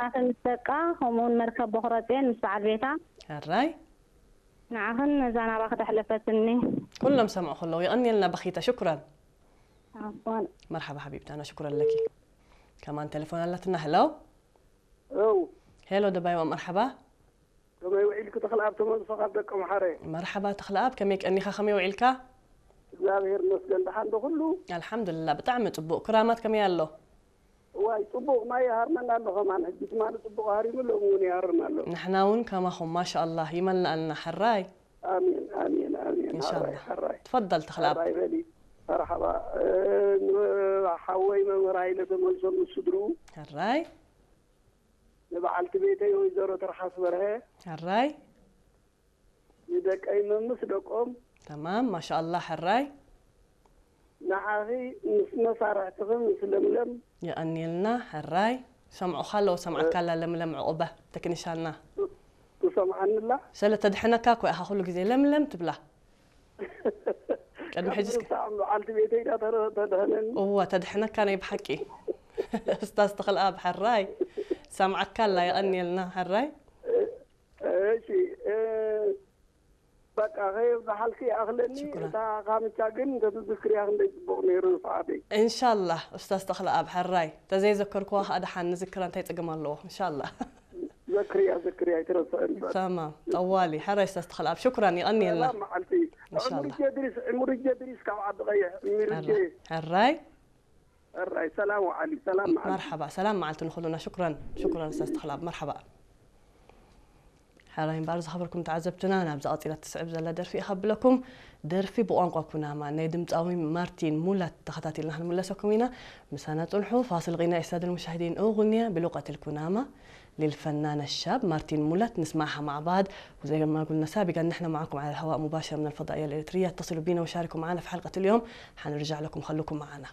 ኣኺ ምስ ደቃ፣ ከምኡውን መርከብ በኹረጼን ምስ በዓል ቤታ። ሕራይ። ንዓኽን ነዛ ናባኺ ተሕለፈትኒ። ኩሎም ሰምዑ ከለዉ የቐንየልና በኺታ። ሽኩራን። ኣፎን። መርሓባ ሓቢብታና፣ ሽኩረን ለኪ። ከማን ቴሌፎን ኣላትና። ሄሎ። ሄሎ። ሄሎ ደባይዋ፣ መርሓባ። ከመይ ውዒልኪ ተኽለኣብ ተመልሶ ካብ ደቀምሓረ? መርሓባ ተኽለኣብ፣ ከመይ ቀኒኻ፣ ከመይ ውዒልካ? እግዚኣብሔር ይመስገን፣ ደሓን ዶ ኩሉ? ኣልሓምዱልላ፣ ብጣዕሚ ጽቡቕ። ክራማት ከመይ ኣሎ? እዋይ፣ ጽቡቕ ማይ ይሃርመና ኣሎ ከማን። ሕጂ ትማሊ ጽቡቕ ሃሪሙ፣ ሎሚ እውን ይሃርም ኣሎ። ንሕና እውን ከማኹም፣ ማሻኣላህ፣ ይመልኣልና። ሕራይ። ኣሜን፣ ኣሜን፣ ኣሜን። ኢንሻኣላህ። ሕራይ፣ ሕራይ። ትፈደል ተኽለኣብ። ሕራይ በሊ። መርሓባ። እ፣ ንሓወይ መምህር ሃይለ ተመልሶ ምስ ስድርኡ። ሕራይ። ንበዓልቲ ቤተይ ወይዘሮ ትርሓስ በርሀ። ሕራይ። ንደቀይ መምስ ደቆም። ተማም፣ ማሻኣላህ፣ ሕራይ። ንዓኺ ምስ መሳርሕትኺ ምስ ለምለም። የቐንየልና፣ ሕራይ። ሰምዑኻ ኣለዉ፣ ሰምዓካ ኣላ ለምለም ዕቑበ፣ ተክኒሻና። ትሰምዓኒ ኣላ? ስለ ተድሕነካ እኮ ኢኻ ኩሉ ግዜ ለምለም ትብላ። ቅድሚ ሕጂ እስከ ሳዕ በዓልቲ ቤተይ ዳ ተረ-፣ ተድሕነኒ። እወ፣ ተድሕነካ ናይ ብሓቂ። ኡስታዝ ተኽለኣብ፣ ሕራይ። ሰምዓካ ኣላ፣ የቐንየልና፣ ሕራይ። እሺ፣ እ፣ በቃ፣ ከየብዝሓልኪ ይኣኽለኒ። ሽኩራን። እታ ካምቻ ግን እንተትዝክርያ ክንደይ ጽቡቕ ነይሩ ንስዓተይ። ኢንሻላህ፣ ኡስታዝ ተኽለኣብ፣ ሕራይ። ተዘይዘከርክዋ ኸኣ ደሓን ንዝክራ እንታይ ጸገም ኣለዎ? ኢንሻላህ። ዘክርያ፣ ዘክርያ፣ ኣይትረስዕን። ተማም፣ ጠዋሊ፣ ሕራይ ኡስታዝ ተኽለኣብ፣ ሽኩራን፣ የቐንየልና። ሰላም መዓልቲ። ኢንሻላህ። ዕምርጀ ድሪስ፣ ዕምርጀ ድሪስ ካብ ዓዲ ቀይሕ፣ ዕምርጀ። ሕራይ። ሕራይ፣ ሰላም ወዓሊ፣ ሰላም መዓልቲ። መርሓባ፣ ሰላም መዓልቲ ንኹሉና። ሽኩራን፣ ሽኩራን ኡስታዝ ተኽለኣብ፣ መርሓባ። ሕራይ እምበኣር ዝኸበርኩም ተዓዘብትና፣ ናብዛ ቀጺላ ትስዕብ ዘላ ደርፊ እየ ከብለኩም። ደርፊ ብቋንቋ ኩናማ ናይ ድምጻዊ ማርቲን ሙላት ተኸታቲልና ክንምለሰኩም ኢና። ምሳና ጽንሑ። فاصل غنائي السادة المشاهدين، أغنية بلغة الكنامة للفنان الشاب مارتين مولات، نسمعها مع بعض. وزي ما قلنا سابقا، نحن معكم على الهواء مباشر من الفضائية الإريترية، اتصلوا بنا وشاركوا معنا في حلقة اليوم، حنرجع لكم، خلوكم معنا.